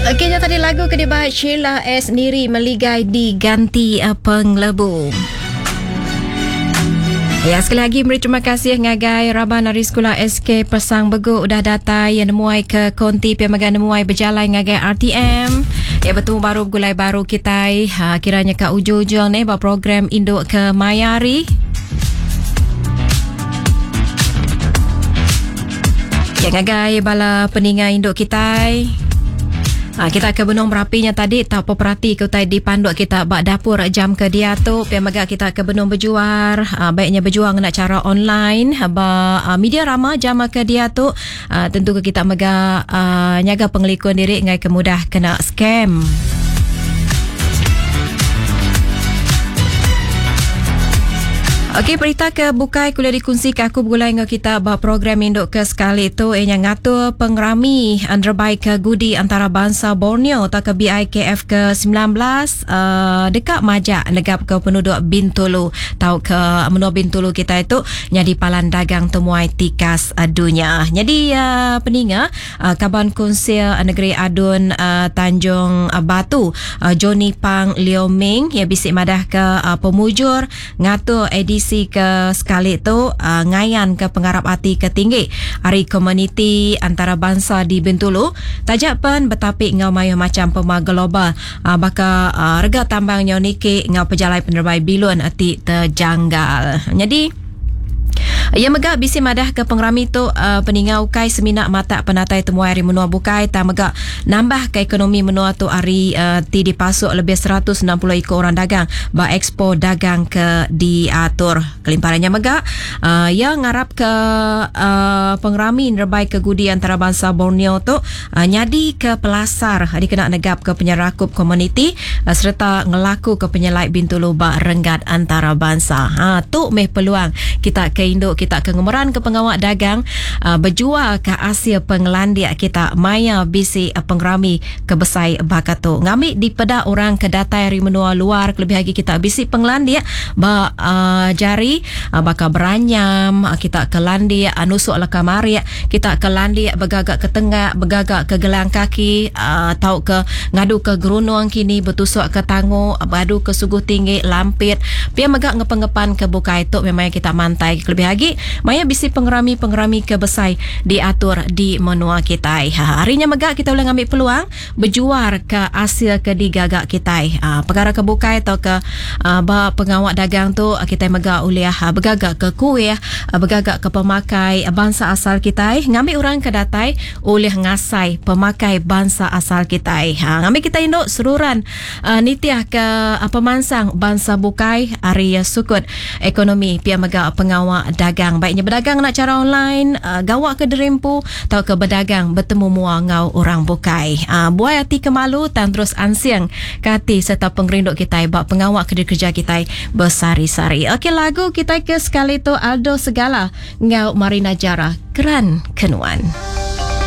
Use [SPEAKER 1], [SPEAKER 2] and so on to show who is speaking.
[SPEAKER 1] Okey, nya tadi lagu ke dibai Sheila S. Niri Meligai diganti eh, Penglebu. Ya, sekali lagi meri terima kasih ngagai raban ari sekula SK Pesang Begu udah datai yang nemuai ke konti pia mega nemuai bejalai ngagai RTM. Ya betemu baru begulai baru kitai ha, kiranya ka ujung-ujung ni ba program induk ke maya hari. Ya ngagai bala peninga induk kitai. Ha, kita ke benung berapinya tadi tau peperati ke utai dipanduk kita ba dapur jam ke diatu pia mega kita ke benung bejuar ha, baiknya berjuang ngena cara online ha, ba ha, media rama jam ke diatu ha, tentu ke kita mega ha, nyaga pengelikun diri ngai ke mudah kena scam. Okey, berita ke bukai kuliah dikunsi ke aku begulai enggau kita ba program induk ke sekali tu ianya ngatur pengerami nerebai ke gudi antarabangsa Borneo atau ke BIKF ke 19 uh, deka majak negap ke penduduk Bintulu tau ke menua Bintulu kita itu nyadi palan dagang temuai tikas uh, dunia. Jadi uh, peninga Kaban Kunsil Negeri Adun Tanjung Batu, Johnny Pang Leo Ming iya bisi madahka pemujur ngatur edisi ke sekali tu ngayanka pengarap ati ke tinggi ari komuniti antarabansa di Bintulu taja pen betapi enggau mayuh macham pemar global baka rega tambang nyau niki enggau pejalai penerebai bilun ti tejanggal. Nyadi. Iya mega bisi madahka pengerami tu peninga ukai semina matak penatai temuai ari menua bukai tang mega nambahka ekonomi menua tu ari ti dipasuk lebih 160 iku orang dagang ba ekspo dagang ke diatur. Kelimpah ari nya mega iya ngarapka pengerami nerebaika gudi antarabansa Borneo tu nyadika pelasar dikena negapka penyerakup komuniti sereta ngelakuka penyelai Bintulu ba renggat antarabansa. Ha, tu meh peluang kita ke indu kita ke ngemeranka pengawa dagang bejualka asil pengelandik kita maya bisi pengerami ke besai baka tu. Ngambi dipeda orang ke datai ari menua luar kelebih agi kita bisi pengelandik ba jari baka beranyam, kita ke landik nusuk leka marik, Kita ke landik begaga ke tengak, begaga ke gelang kaki, tauka ngadu ke gerunung kini betusuk ke tangu, beadu ke suguh tinggi, lampit. Pia mega ngepen-ngepan ke bukai tu meh maya kita mantai kelebih agi maya bisi pengerami-pengerami ke besai diatur di menua kitai. Hari nya mega kita ulih ngambi peluang bejuar ka asil ke digaga kitai. Pekara ke bukai tauka ba pengawa dagang tu kitai mega ulih begaga ke kuih, begaga ke pemakai bansa asal kitai ngambi orang ke datai ulih ngasai pemakai bansa asal kitai. Ngambi kitai indu seruran nitih ke pemansang bansa bukai ari sukut ekonomi pia mega pengawa dagang baik nya bedagang ngena chara online, gawa ke diri empu tauka bedagang betemu mua enggau orang bukai. Buai ati ke malu tang terus ansing ke ati sereta pengerindu kitai ba pengawa ke dikereja kitai besehari-sehari. Okey lagu kitai ke sekali tu Aldo Segala enggau Marina Jara Keran Ke Nuan.